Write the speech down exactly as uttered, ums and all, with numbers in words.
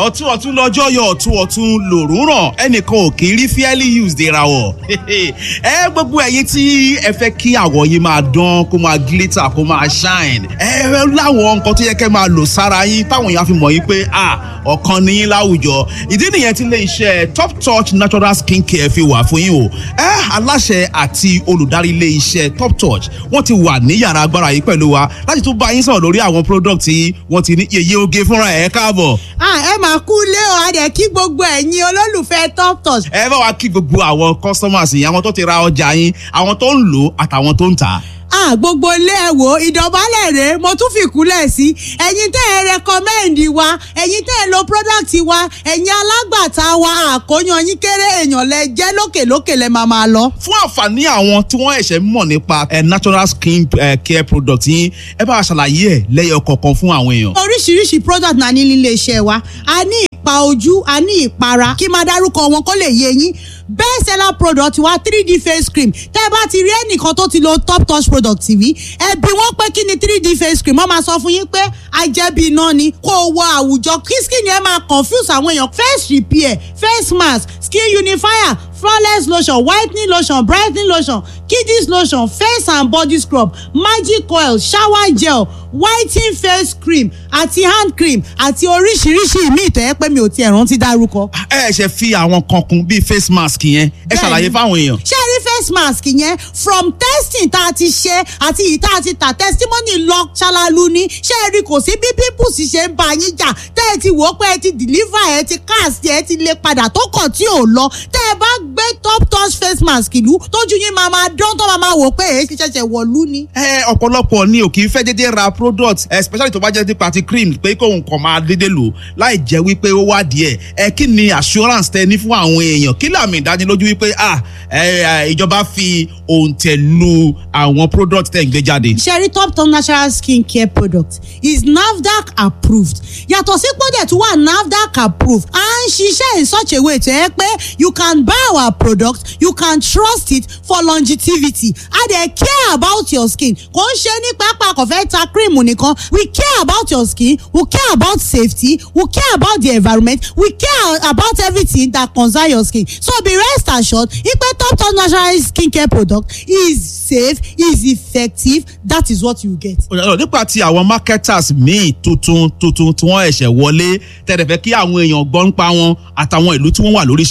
Ọ̀tún ọ̀tún lọ́jọ́ yọ, ọ̀tún ọ̀tún lòrùn ràn, ẹnìkan ò kì í rí fairly used ìràwọ̀. Ẹ gbogbo ẹ̀yin tí ẹ fẹ́ kí àwọ̀ yín máa dán, kó máa glitter, kó máa shine, ẹ láwọn nǹkan tó yẹ kẹ́ máa lò sára yín táwọn èèyàn fi mọ̀ yín pé ah, ọ̀kan ní yín láwùjọ. Ìdí nìyẹn tí ilé iṣẹ́ Top Touch Natural Skin Care fi wà fún yín o. Ẹ aláṣẹ àti olùdarí ilé iṣẹ́ Top Touch, wọ́n ti wà ní yàrá agbára yìí pẹ̀lú wa láti tún bá yín sọ̀rọ̀ lórí àwọn product tí wọ́n ti ní. Yèyé oge fúnra ẹ̀, káàbọ̀. Ẹ máa kú lé o, a dẹ̀ kí gbogbo ẹ̀yin olólùfẹ́ Top Touch. Ẹ bá wa kí gbogbo àwọn customers yìí, àwọn tó ti ra ọjà yín, àwọn tó ń lò àtàwọn tó ń tà á. Ah, gbogbo ilé, ẹ wò, ìdọ̀bálẹ̀ rèé, mo tún fi kúnlẹ̀ sí ẹ̀yin tẹ́ ẹ recommend wa, ẹ̀yin tẹ́ ẹ lo product wa, ẹ̀yin alágbàtà wa. Àkóyan yín kéré, èèyàn lẹ jẹ́, lókè lókè lẹ máa máa lọ. Fún àǹfààní àwọn tí wọ́n ẹ̀ṣẹ̀ mọ̀ nípa natural skin care product yín, ẹ bá wa ṣàlàyé ẹ̀ lẹ́yọ kọ̀ọ̀kan fún àwọn èèyàn. Oríṣiríṣi product náà ní nílé iṣẹ́ wa. A ní ìpa ojú, a ní ìpara. Kí máa dárúkọ wọn kó lè yé yín. Best seller product wa, three D face cream. Tẹ́ ẹ bá ti rí ẹnìkan tó ti lo Top Touch product rí, ẹ bi wọ́n pé kí ni three D face cream, wọ́n máa sọ fún yín pé ajẹ́bi iná ni. Kó o wọ àwùjọ, kí skin yẹn máa confuse àwọn èèyàn. Face repair, face mask, skin unifier, flawless lotion, whitening lotion, brightening lotion, kiddies lotion, face and body scrub, magic oil, shower gel, whitening face cream àti hand cream àti oríṣiríṣi ìmíì tó yẹ pé mi ò tiẹ̀ rántí dárúkọ. Ẹ ṣe fi àwọn kan kún bíi face mask yẹn, ẹ ṣàlàyé fáwọn èèyàn. Ṣé ẹ rí face mask yẹn, from testing tá a ti ṣe àti ìyí tá a ti tà, testimony lọ ṣalalu ni. Ṣé ẹ rí, kò sí bí pimples ṣe ń bá yín jà, tẹ́ ẹ ti wò ó pé ẹ ti deliver, ẹ ti cast, ẹ ti lè padà tó kàn tí ò lọ, tẹ́ ẹ bá gbé Top Touch face mask ìlú, tójú yín máa máa dán, tó máa máa wò pé èyí ṣẹ̀ṣẹ̀ wọ̀lú ni. Ẹ ọ̀pọ̀lọpọ̀ ni ò kì í fẹ́ dédé ra product, especially tó bá jẹ́ nípa ti cream, pé kóun kàn máa dédé lò láì jẹ́ wípé ó wá díẹ̀. Ẹ kí ni assurance tẹ ní fún àwọn èèyàn? Kí làmì ìdánilójú wípé ah, ìjọba fi òǹtẹ̀ lu àwọn product tẹ̀ ń gbé jáde? Ṣé ẹ rí, Top Top Natural Skin Care product is NAFDAC approved. Yàtọ̀ sí pọ́dẹ̀ tó wà NAFDAC approved, à ń ṣiṣẹ́ in such a way tó yẹ pé you can buy our product, you can trust it for longevity. A dẹ̀ care about your skin. Kò ń ṣe ní pápá kò fẹ́ ta cream nìkan. We care about your skin, we care about safety, we care about the environment, we care about everything that concern your skin. So be rest assured pé Top Top Natural Skin Care product is safe, is effective. That is what you get. Nípa ti àwọn marketers míì tuntun tuntun tí wọ́n ẹ̀ṣẹ̀ wọlé tẹ̀lé, fẹ́ kí àwọn èèyàn gbọ́ nípa wọn àtàwọn ìlú tí wọ́n wà lóríṣiríṣi.